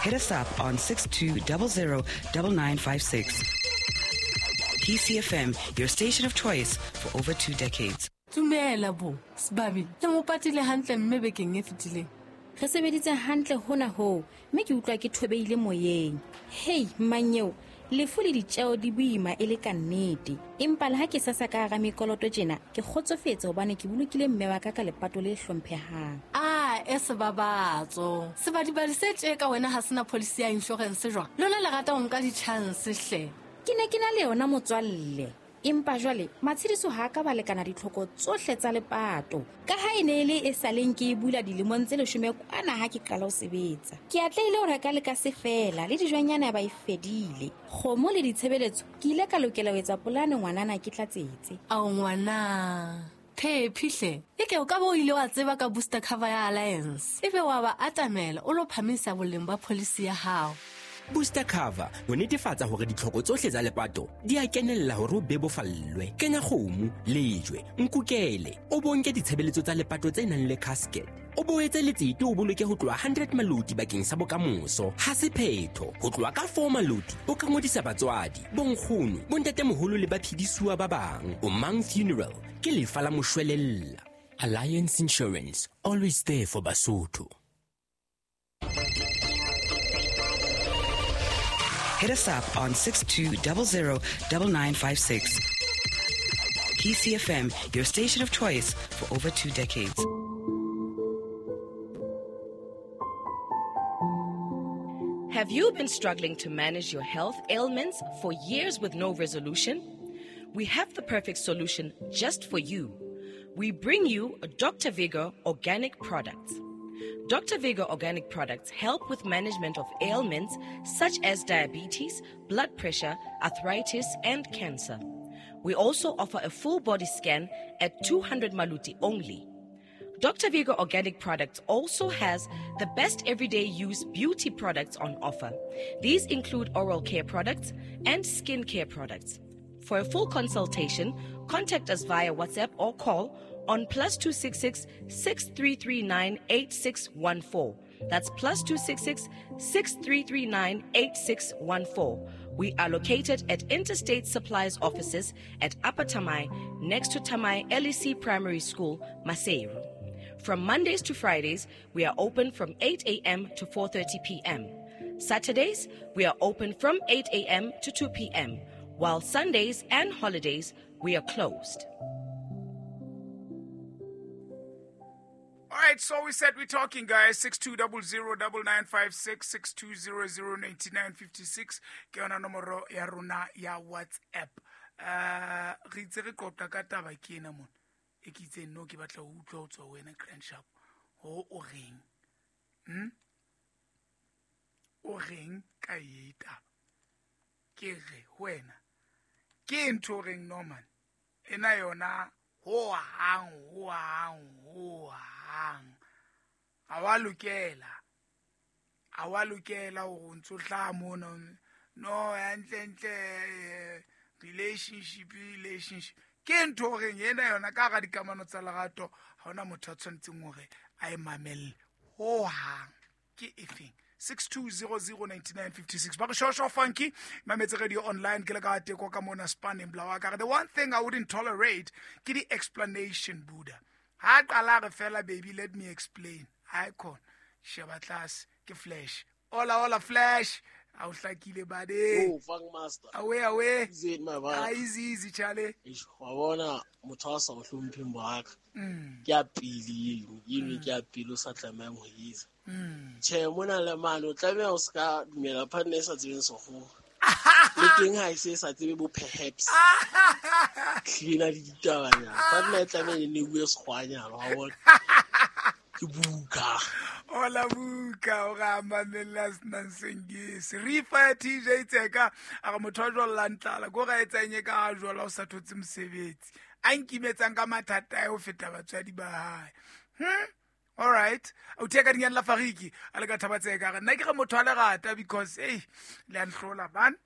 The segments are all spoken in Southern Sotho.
Hit us up on 6200 9956. PCFM, your station of choice for over 2 decades. Dumela bo, Sebabi, le mo patile hantle mme bekeng e fetileng. Re sebeditse hantle hona hoo, mme ke utlwa ke thobeile moyeng. Hei, mmanyeo, lefu le ditjeo di boima e le ka nnete. Empa le ha ke sasa ka hara mekoloto tjena, ke kgotsofetse hobane ke bolokile mme wa ka ka lepato le hlomphehang. A e sebabatso. Sebadibadi se tje ka wena ha sena policy ya insurance jwang? Lona le rata ho nka di-chance hle. Ke ne ke na le yona motswalle. Empa jwale matshediso ha ka ba lekana ditlhoko tsohle tsa lepato. Ka ha e ne e le e sa leng ke e bula dilemong tse 10 kwana ha ke qala ho sebetsa. Ke atlehile ho reka le ka se fela le dijwanyana ba e fedile. Kgomo le ditshebeletso ke ile ka lokela ho etsa polane ngwanana ke tlatsetse. Ao ngwana. Phephi hle. Eke o ka bo o ile wa tseba ka booster cover ya Alliance. Ebe wa ba atamela o lo phamisa boleng ba policy ya hao. Booster cover ho netefatsa hore ditlhoko tsohle tsa lepato di a kenella hore o bebofallwe. Kenya kgomo, lejwe, nkukele, o bonke ditshebeletso tsa lepato tse nang le casket. O boetse letsete o boloke ho tloha 100 maloti bakeng sa bokamoso. Ha se phetho, ho tloha ka 4 maloti o ka ngodisa batswadi, bonkgono, bontatemoholo le baphedisuwa ba bang. O Mang Funeral ke lefa la moshwelella. Alliance Insurance, always there for Basotho. Hit us up on 6200 9956. PCFM, your station of choice for over 2 decades. Have you been struggling to manage your health ailments for years with no resolution? We have the perfect solution just for you. We bring you Dr. Vigor Organic Products. Dr. Vigor Organic Products help with management of ailments such as diabetes, blood pressure, arthritis, and cancer. We also offer a full body scan at 200 Maluti only. Dr. Vigor Organic Products also has the best everyday use beauty products on offer. These include oral care products and skin care products. For a full consultation, contact us via WhatsApp or call on +266 6339 8614. That's +266 6339 8614. We are located at Interstate Supplies offices at Upper Tamai, next to Tamai LEC Primary School, Maseru. From Mondays to Fridays, we are open from 8 a.m. to 4:30 p.m. Saturdays, we are open from 8 a.m. to 2 p.m., while Sundays and holidays, we are closed. All right, so we said we're talking, guys. 6200 9956, 6200 9956. Ke yona nomoro ya rona ya WhatsApp. Re itse re qoqa ka taba ke ena mona. E ke itse no ke batla ho utlwa ho tswa ho wena Grand Sharp. Ho o reng? O reng ka e taba? Ke re ho wena. Ke ntho o reng Norman? Ena yona ho hang, ho hang, ho hang. Ha wa lokela. Ha wa lokela hore o ntso hlaha mona. No, hantle, ntle, relationship, relationship. Ke ntho o reng ena yona ka hara dikamano tsa lerato, ha hona motho a tshwanetseng hore a e mamelle. Ho hang. Ke efeng? 6200 9956. Ba re shosho funky, Mametse Radio Online, ke le ka teko ka mona spanning bla wa ka. The one thing I wouldn't tolerate ke di explanation Buddha. Ha qala re fela baby let me explain. Icon sheba tlase ke flash. Hola hola flash. A o hlakile bade. Oh, funk master. Awe awe. Easy my man. Ah, easy easy Charlie. Eish, wa bona motho a sa o hlompheng boaka. Ke a pele eno, eno ke a pele o sa tlamehang ho etsa. Tjhe, mona le mane o tlameha o ska dumela partner e sa tsebeng sekgowa. Le teng ha e se sa tsebe bo perhaps. Hlena le ditabanyana. Partner e tlameha e ne bue sekgwanyana, wa bona. Ke buka. Hola buka, o ra mamella senang sengisi. Rifa ya TJ Tseka, a re motho a jwallang tlala, ko ra etsang e ka ha jwala o sa thotse mosebetsi. A nkimetsang ka mathata a ho feta batswadi ba hae. All right. O theka dinyane la Fariki, a le ka thaba Tseka, re nna ke re motho a lerata because hey, le a nhlola man.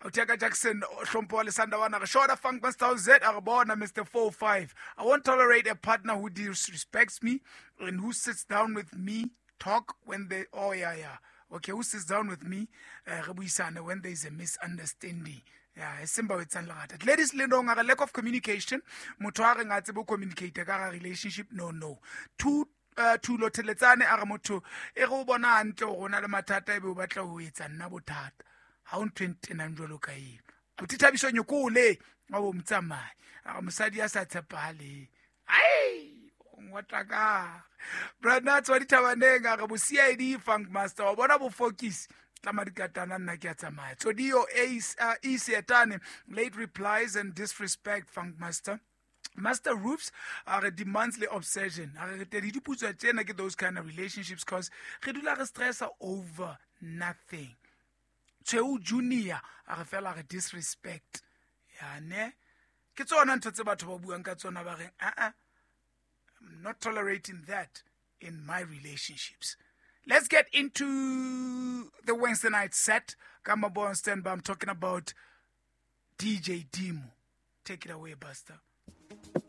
O theka Jackson Hlompho wa Lesanda wa re Shoda Funk Master Z a re bona Mister 45. I won't tolerate a partner who disrespects me and who sits down with me talk when they oh yeah yeah. Okay, who sits down with me, re buisane when there is a misunderstanding. Yeah, e seng ba o etsang lerata. Ladies Lendong a re lack of communication. Motho a reng a tsebe ho communicate ka ga relationship, no no. Two Thulo Theletsane a re motho e re o bona hantle hore o na le mathata ebe o batla ho etsa nna bothata. Ha o ntho e ntenang jwalo ka eo. Abuti Thabiso Nyokole wa bo motsamai. A re mosadi ya sa tshepahaleng. Ai, o ngotla ka. Brad wa dithabaneng a re bo CID Funk Master wa bona bo focus tlama dikatana nna ke a tsamaya. Tsodio Ace E Seetane late replies and disrespect Funk Master. Master Roofs a re demands le obsession. A re re tedi diputswa tsena ke those kind of relationships cause re dula re stressa over nothing. Tshweu Junior a re fela re disrespect. Ya ne ke tsona ntho tse batho ba buang ka tsona ba reng a I'm not tolerating that in my relationships. Let's get into the Wednesday night set. Kama Born Standby. I'm talking about DJ Dimo. Take it away, Buster.